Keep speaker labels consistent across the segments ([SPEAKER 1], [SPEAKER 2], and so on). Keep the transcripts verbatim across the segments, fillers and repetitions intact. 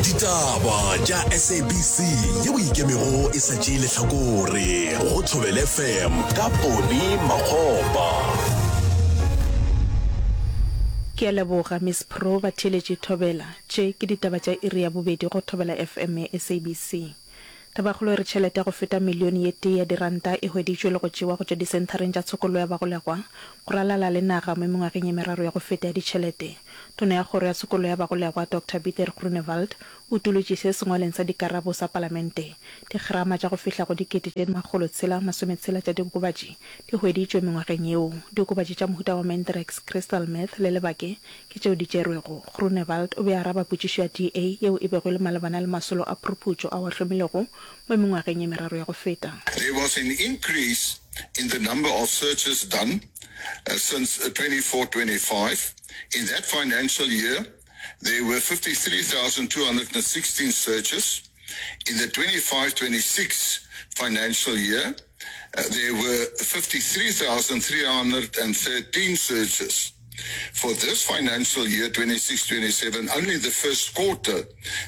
[SPEAKER 1] Ditaba tša S A B C ye bo ikemego e sa tšee lehlakore go Thobela F M ka Poni Makgopa.
[SPEAKER 2] Ke a leboga Miss Pro. Batheeletši thobela, tše ke ditaba tša iri ya bobedi go Thobela F M ya S A B C. Tabakgolo e re tšhelete ya go feta milione ye tee ya diranta e hweditšwe le go tšewa go tšwa disenthareng tša tshokollo ya bagolegwa go ralala le naga mo mengwageng ye meraro ya go feta ya ditšhelete. Tona ya Kgoro ya Tshokollo ya Bagolegwa Doctor Pieter Groenewald o utolotše se sengwaleng sa dikarabo sa Palamente. Digrama tša go fihla go dikete tše makgolo tshela masometshela tša diokobatši di hweditšwe mengwageng yeo. Diokobatši tša mohuta wa Mandrax, crystal meth le lebake ke tšeo di tšerwego. Groenewald o be a araba potšišo ya D A yeo e bego e le malebana le masolo a phuruputšo ao a hlomilwego mo mengwageng ye meraro ya go feta.
[SPEAKER 3] There was an increase in the number of searches done uh, since twenty-four twenty-five. In that financial year, there were fifty-three thousand two hundred sixteen searches. In the twenty-five twenty-six financial year, uh, there were fifty-three thousand three hundred thirteen searches. For this financial year, twenty-six twenty-seven, only the first quarter,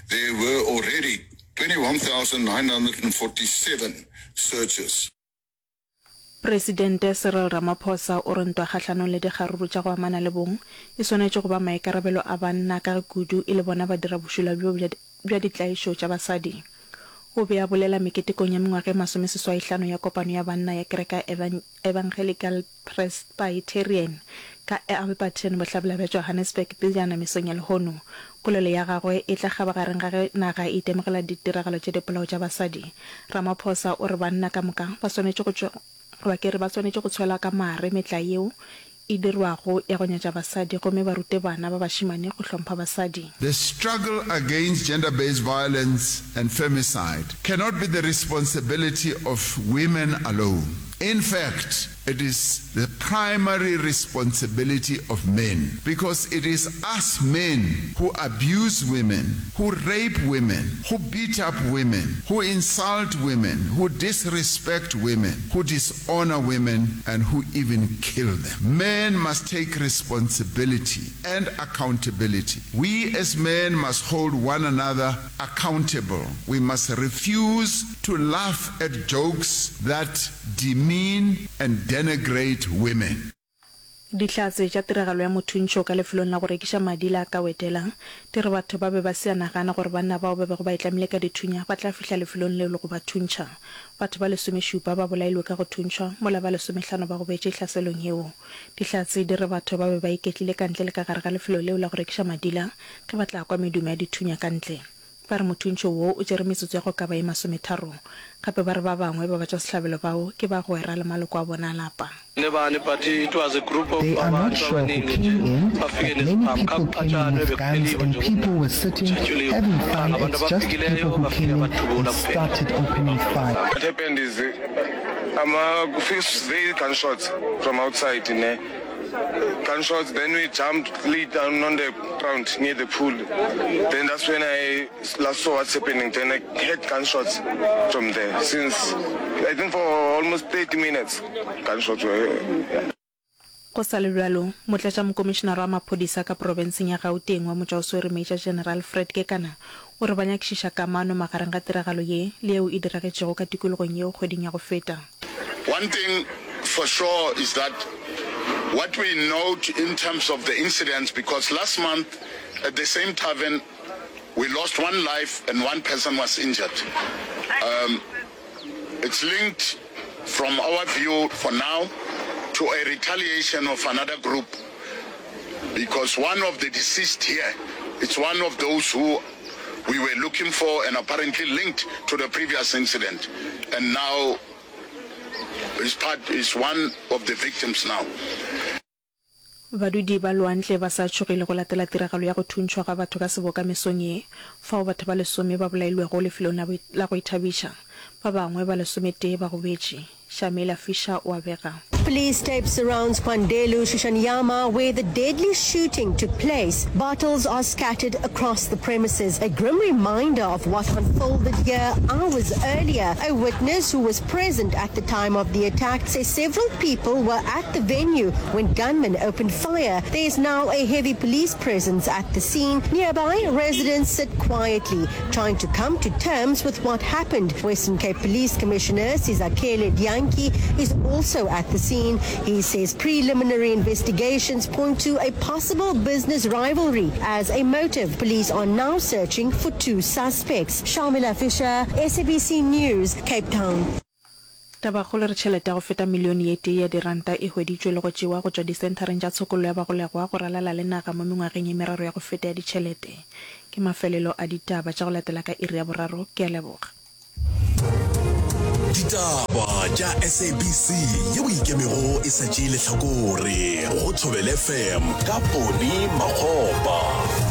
[SPEAKER 3] there were already twenty-one thousand nine hundred forty-seven searches.
[SPEAKER 2] Presidente Cyril Ramaphosa o re ntwa kgahlanong le dikgaruru tša go amana le bong e swanetše go ba maikarabelo a banna ka ge kudu e le bona badirabošula bjo bja ditlaišo tša basadi. O be a bolela meketekong ya mengwaga e masomeseswaihlano ya kopano ya banna ya kereke ya Evangelical Presbyterian ka Alberton, bohlabela bja Johannesburg pejana mesong ya lehono. Polelo ya gagwe e tla kgabagareng ga ge naga e itemogela ditiragalo tša dipolao tša basadi. Ramaphosa o re banna ka moka ba swanetše go tšwa goba ke re ba swanetše go tshwela ka mare metlae yeo e dirwago ya go nyatša basadi gomme ba rute bana ba bašemane go hlompha basadi.
[SPEAKER 4] The struggle against gender-based violence and femicide cannot be the responsibility of women alone. In fact, it is the primary responsibility of men, because it is us men who abuse women, who rape women, who beat up women, who insult women, who disrespect women, who dishonor women, and who even kill them. Men must take responsibility and accountability. We as men must hold one another accountable. We must refuse to laugh at jokes that demean and denigrate women.
[SPEAKER 2] Dihlatse tša tiragalo ya mothuntšho ka lefelong la go rekiša madi la Kawetela di re batho ba be ba se a nagana gore banna bao ba bego ba itlamile ka dithunya ba tla fihla lefelong leo le go ba thuntšha. Batho ba lesomešupa ba bolailwe ka go thuntšhwa mola ba lesomehlano ba gobetše hlaselong yeo. Dihlatse di re batho ba be ba iketlile ka ntle le ka gare ga lefelo leo la go rekiša madila ge ba tla kwa medumo ya dithunya ka ntle. Ba re mothuntšho wo o tšere metsotso ya go ka ba ye masometharo. Gape ba re ba bangwe ba batšwasehlabelo bao ke bagwera le maloko a bona a lapa.
[SPEAKER 5] They are not sure who came in, but many people came in with guns and people were sitting, having fun. It's just people who came in and started opening fire.
[SPEAKER 6] What happened is um, uh, they gunshots from outside in there. Gunshots, then we jumped, lay down on the ground near the pool. Then that's when I last saw what's happening. Then I heard gunshots from there. Since, I think for almost thirty minutes, gunshots were, yeah.
[SPEAKER 2] Go sa le bjalo, motlatšamokomišenare wa maphodisa ka profenseng ya Gauteng wa motšwaoswere Major General Fred Kekana o re ba nyakišiša kamano magareng ga tiragalo ye le yeo e diragetšego ka tikologong yeo kgweding ya go feta.
[SPEAKER 3] One thing for sure is that what we note in terms of the incidents, because last month at the same tavern we lost one life and one person was injured. Um, it's linked from our view for now to a retaliation of another group, because one of the deceased here, it's one of those who we were looking for and apparently linked to the previous incident, and now is part is one of the victims now.
[SPEAKER 2] Badudi ba Lwandle ba sa tšhogile go latela tiragalo ya go thuntšhwa ga batho ka seboka mesong ye, fao batho ba lesome ba bolailwego lefelong la go ithabiša. Ba bangwe ba lesometee ba gobetše. Shamila Fisher o a bega.
[SPEAKER 7] Police tape surrounds Kwandelu Shishanyama, where the deadly shooting took place. Bottles are scattered across the premises, a grim reminder of what unfolded here hours earlier. A witness who was present at the time of the attack says several people were at the venue when gunmen opened fire. There is now a heavy police presence at the scene. Nearby, residents sit quietly, trying to come to terms with what happened. Western Cape Police Commissioner Sizakele Dyantyi is also at the scene. He says preliminary investigations point to a possible business rivalry as a motive. Police are now searching for two suspects. Sharmila Fisher, S A B C News, Cape Town.
[SPEAKER 2] Tabakgolo re tšhelete ya go feta milione ye tee ya diranta e hweditšwe le go tšewa go tšwa disenthareng tša tshokollo ya bagolegwa go ralala le naga mo mengwageng ye meraro ya go feta ya ditšhelete. Ke mafelelo a ditaba tša go latela ka iri ya boraro. Ke a leboga.
[SPEAKER 1] Ditaba tša S A B C ye boikemego e sa tšee lehlakore go Thobela F M ka Poni Makgopa.